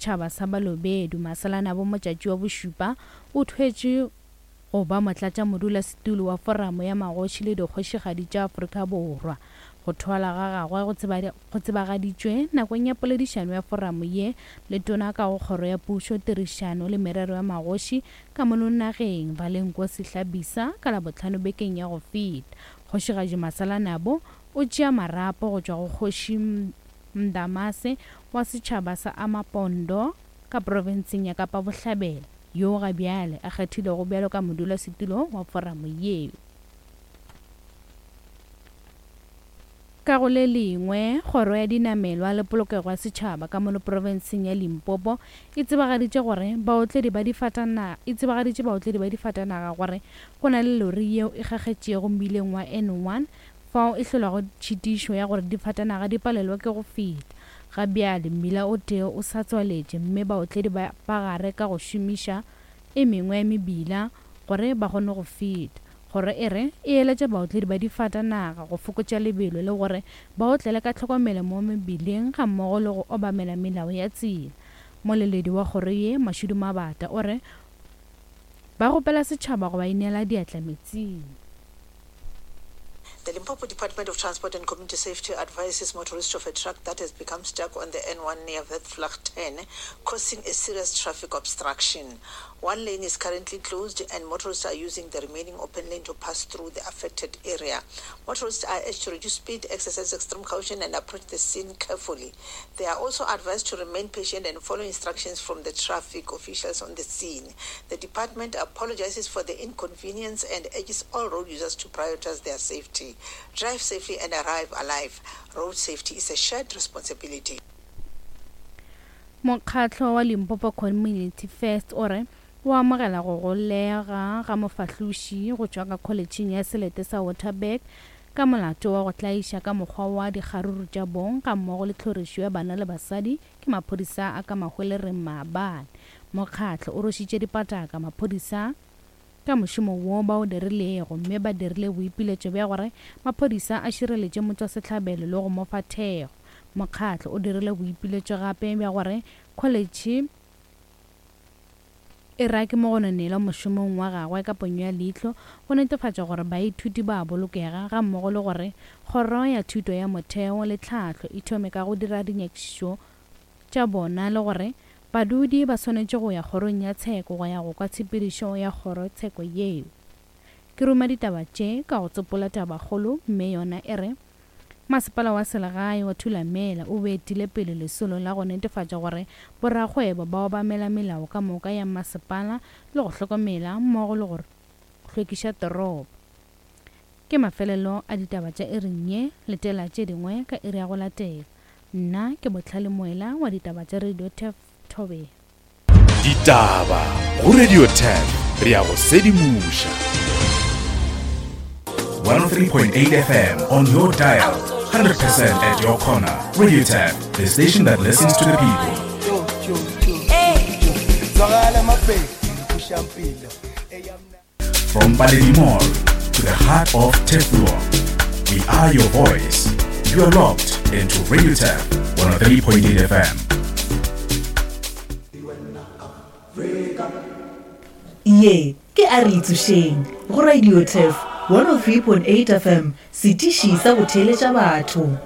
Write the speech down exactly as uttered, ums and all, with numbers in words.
setšhaba sa Balobedu Masalanabo Motšatši wa bošupa o thwetšwe go ba motlatšamodulasetulo wa Foramo ya Magoši le Dikgošigadi tša Afrika Borwa. Go thwalwa ga gagwe go tsebagaditšwe nakong ya poledišano ya foramo ye le Tona ka go Kgoro ya Pušo, Tirišano le Merero ya Magoši ka mono nageng, Valenkosi Hlabisa ka Labohlano bekeng ya go feta. Kgošigadi Masalanabo o tšea marapo go tšwa go Kgoši Ndamase wa setšhaba sa Amapondo ka profenseng ya Kapa Bohlabela, yoo ga bjale a kgethilwego bjalo ka modulasetulo wa foramo yeo. Ka go le lengwe, Kgoro ya Dinamelwa le Polokego ya Setšhaba ka mono profenseng ya Limpopo e tsebagaditše gore baotledi ba difatanaga e tsebagaditše baotledi ba difatanaga gore go na le lori yeo e kgakgetšego mmileng wa N one fao e hlolago tšhitišo ya gore difatanaga di palelwe ke go feta. Ga bjale mmila o tee o sa tswaletše mme baotledi ba gare ka go šomiša e mengwe ya mebila gore ba kgone go feta. Kgoro e re e eletša baotledi ba difatanaga go fokotša lebelo le gore ba otlele ka tlhokomelo mo mebileng gammogo le go obamela melao ya tsela. Moleledi wa kgoro ye, Mashudu Mabata, o re ba kgopela setšhaba go ba inela diatla metsing. The Limpopo Department of Transport and Community Safety advises motorists of a truck that has become stuck on the N one near Witvlagten, causing a serious traffic obstruction. One lane is currently closed and motorists are using the remaining open lane to pass through the affected area. Motorists are urged to reduce speed, exercise extreme caution and approach the scene carefully. They are also advised to remain patient and follow instructions from the traffic officials on the scene. The department apologizes for the inconvenience and urges all road users to prioritize their safety. Drive safely and arrive alive. Road safety is a shared responsibility. Mokgatlo wa Limpopo Community First o re o amogela go golega ga mofahloši go tšwa ka kholetšheng ya selete sa Waterberg ka molato wa go tlaiša ka mokgwa wa dikgaruru tša bong gammogo le tlhorišo ya bana le basadi ke maphodisa a ka Mahwelereng maabane. Mokgatlo o rošitše dipataka maphodisa ka mošomo wo ba o dirilego mme ba dirile boipiletšo bja gore maphodisa a šireletše motšwasehlabelo le go mo fa thekgo. Mokgatlo o dirile boipiletšo gape bja gore kholetšhe e rake mogononelwa mošomong wa gagwe ka ponyo ya leihlo go netefatša gore baithuti ba bolokega gammogo le gore kgoro ya thuto ya motheo le tlhahlo e thome ka go dira dinyakišišo tša bona le gore badudi ba swanetše go ya kgorong ya tsheko go ya go kwa tshepedišo ya kgorotsheko yeo. Ke ruma ditaba tše ka go tsopola tabakgolo mme yona e re masepala wa selegae wa Thulamela o beetile pele lesolo la go netefatša gore borakgwebo ba obamela melao ka moka ya masepala le go hlokomela mmogo le go hlwekiša toropo. Ke mafelelo a ditaba tša iring ye, letela tše dingwe ka iri ya go latela. Nna ke Bohlale Moela wa ditaba tša Radio Turf Thobela. Ditaba go Radio Turf, re ya go sedimoša. one oh three point eight F M on your dial, one hundred percent at your corner. Radio Turf, the station that listens to the people. From Paledi Mall to the heart of Turfloop, we are your voice. You are locked into Radio Turf one oh three point eight F M. Ye ke a re itsošeng go Radio Turf one oh three point eight F M, setiši sa go theeletša batho.